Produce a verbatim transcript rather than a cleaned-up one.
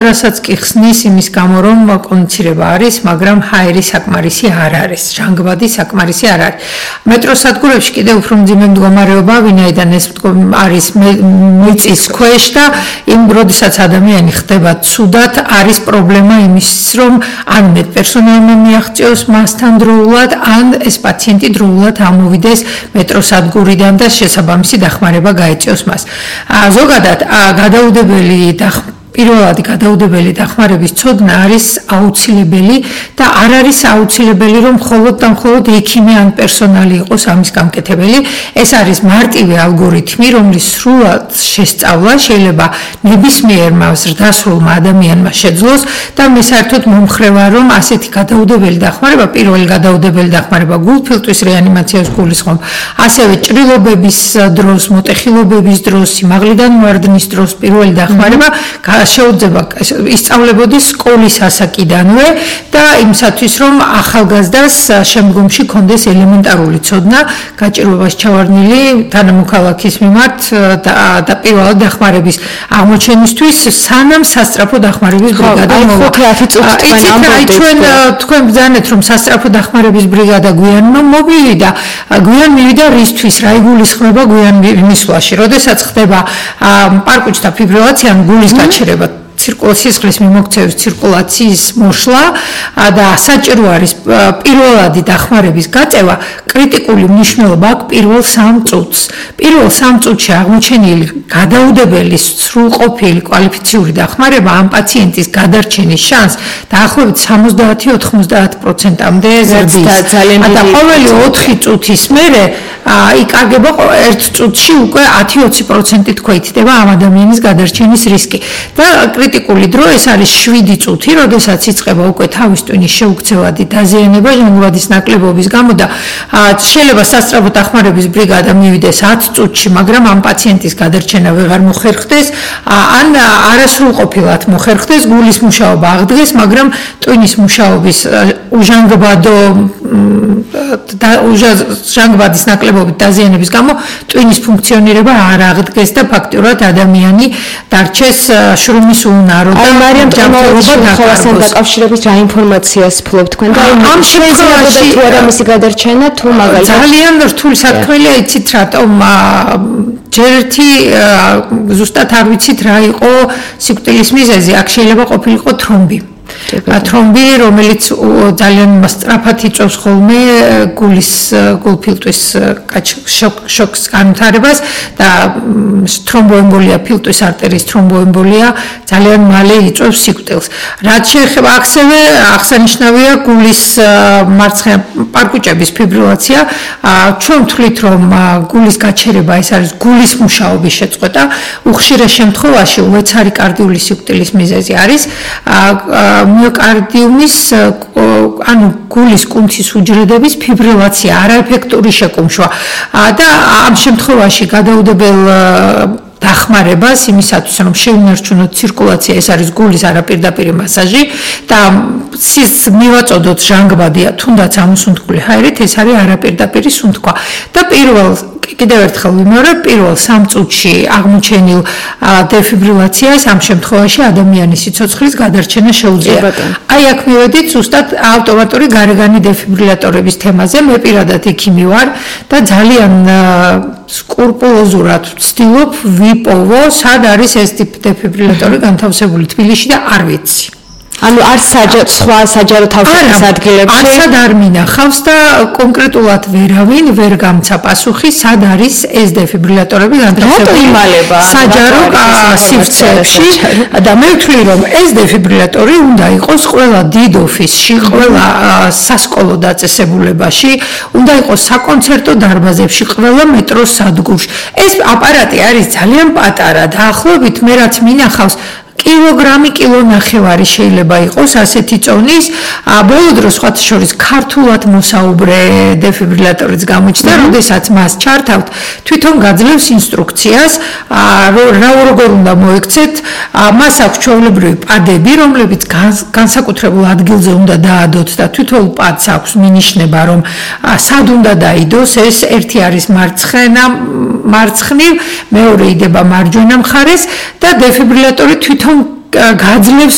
რასაც კი ხსნის იმის გამო რომ კონცირება არის, მაგრამ ჰაერი საკმარისი არ არის, ჟანგბადი საკმარისი არ არის. მეტროსადგურებში კიდევ უფრო მძიმე მდგომარეობა, ვინაიდან ეს არის მიწის ქვეშ და იმ როდესაც ადამიანი ხდება ცუდად, არის პრობლემა იმის, რომ ან მედპერსონალმა მიაღწიოს მასთან დროულად, ან ეს პაციენტი დროულად ამოვიდეს მეტროსადგურიდან და შესაბამისი დახმარება გაეწიოს მას. ზოგადად გადაუდებელი დახმარება პირველადი გადაუდებელი დახმარების ცოდნა არის აუცილებელი და არ არის აუცილებელი რომ მხოლოდ და მხოლოდ ექიმი ან პერსონალი იყოს ამის გამკეთებელი. ეს არის მარტივი ალგორითმი, რომლის სრულად შესწავლა შეიძლება ნებისმიერმა ზრდასრულმა ადამიანმა შეძლოს და მე საერთოდ მომხრე ვარ რომ ასეთი გადაუდებელი დახმარება, პირველი გადაუდებელი დახმარება გულფილტვის რეანიმაციას გულისხმობ, ასევე ჭრილობების დროს, მოტეხილობების დროს, სიმაღლიდან ვარდნის დროს პირველი დახმარება შეუძლება ისწავლებოდეს სკოლის ასაკიდანვე და იმისათვის რომ ახალგაზრდას შემდგომში კონდეს ელემენტარული ცოდნა გაჭირვებას ჩავარდნილი თანამოქალაქის მიმართ და პირველად დახმარების აღმოჩენისთვის სანამ სასწრაფო დახმარების ბრიგადა მოვა. თქვენ ბრძანეთ რომ სასწრაფო დახმარების ბრიგადა გვიან მოვიდა, გვიან მივიდა რისთვის, რა იგულისხმება გვიან მისვლაში, როდესაც ხდება პარკუჩთა ფიბრილაცია, გულის გაჩერება ცირკულაციის ხლის მიმოქცევის ცირკულაციის მოშლა და საჭირო არის პირველადი დახმარების გაწევა, კრიტიკული მნიშვნელობა აქვს პირველ სამ წუთს. პირველ სამ წუთში აღმოჩენილი გადაუდებელი სრულყოფილი კვალიფიციური დახმარება ამ პაციენტის გადარჩენის შანსს დაახლოებით სამოცდაათი ოთხმოცდაათი პროცენტამდე ზრდის. და ყოველი ოთხი წუთის მერე იკარგება ერთ წუთში უკვე ათი ოცი პროცენტი თქოითდება ამ ადამიანის გადარჩენის რისკი. და კრიტიკული დრო ეს არის შვიდი წუთი, როდესაც იწყება უკვე თავის ტვინის შეუქცევადი დაზიანება ჟანგბადის ნაკლებობის გამო და შეიძლება სასწრაფო დახმარების ბრიგადა მივიდეს ათი წუთში, მაგრამ ამ პაციენტის გადარჩენა ვეღარ მოხერხდეს, ან არასრულყოფილად მოხერხდეს, გულის მუშაობა აღდგეს, მაგრამ ტვინის მუშაობის უჟანგბადო ჟანგბადის ნაკლებობის დაზიანების გამო ტვინის ფუნქციონირება არ აღდგეს და ფაქტურად ადამიანი დარჩეს შრომის უნარო და მარიამ ჯანმრთელობასთან დაკავშირებით რა ინფორმაციას ფლობთ თქვენ და ამ შემთხვევაში თუ არა მისი გადარჩენა თუ მაგალითად ძალიან რთული საქმეა, იცით რატომ ჯერ ერთი ზუსტად არ ვიცით რა იყო სიკვდილის მიზეზი, აქ შეიძლება ყოფილიყო თრომბი. თრომბი, რომელიც ძალიან სწრაფად იწვევს ხოლმე გულის გულფილტვის შოკს განვითარებას და თრომბოემბოლია, ფილტვის არტერიის თრომბოემბოლია ძალიან მალე იწვევს სიკვდილს. რაც შეეხება ასევე აღსანიშნავია გულის მარცხენა პარკუჭების ფიბრილაცია. ჩვენ ვთვლით რომ გულის გაჩერება ეს არის გულის მუშაობის შეწყვეტა, უხშირად შემთხვევაში უეცარი კარდიული სიკვდილის მიზეზი არის მიოკარდიუმის ანუ გულის კუნთის უჯრედების ფიბრილაცია, არაეფექტური შეკუმშვა და ამ შემთხვევაში გადაუდებელ დახმარებას იმისათვის რომ შეინარჩუნოთ ცირკულაცია, ეს არის გულის არაპირდაპირი მასაჟი და მივაწოდოთ ჟანგბადია, თუნდაც ამოსუნთქული ჰაერით, ეს არის არაპირდაპირი სუნთქვა და პირველ კიდევ ერთხელ ვიმეორებ, პირველ სამ წუთში აღმოჩენილ დეფიბრილაციას ამ შემთხვევაში ადამიანის სიცოცხლის გადარჩენა შეუძლია. აი აქ მივედით ზუსტად ავტომატური გარეგანი დეფიბრილატორების თემაზე. მე პირადად ექიმი ვარ და ძალიან სკრუპულოზურად ვცდილობ ვიპოვო, სად არის ეს დეფიბრილატორი განთავსებული თბილისში და არ ვიცი. ანუ არც სხვა საჯარო თავშეყრის ადგილებში არცად არ მინახავს და კონკრეტულად ვერავინ ვერ გამცა პასუხი, სად არის ეს დეფიბრილატორები განთავსებული საჯარო სივრცეებში და მე ვთვლი რომ ეს დეფიბრილატორი უნდა იყოს ყველა დიდ ოფისში, ყველა სასკოლო დაწესებულებაში, უნდა იყოს საკონცერტო დარბაზებში, ყველა მეტროს სადგურში. ეს აპარატი არის ძალიან პატარა, დაახლოებით მე რაც მინახავს კილოგრამი, კილონახევარი შეიძლება იყოს ასეთი წონის. ბოლო დროს სხვათა შორის ქართულად მოსაუბრე დეფიბრილატორიც გამოჩნდა, როდესაც მას ჩართავთ, თვითონ გაძლევს ინსტრუქციას, რა როგორ უნდა მოექცეთ. მას აქვს ჩვეულებრივი პადები, რომლებიც განსაკუთრებულ ადგილზე უნდა დაადოთ და თვითონ პადს აქვს მინიშნება, რომ სად უნდა დაიდოს. ეს ერთი არის მარცხენა, მარცხნივ, მეორე იდება მარჯვენა მხარეს და დეფიბრილატორი თვითონ გაძლევს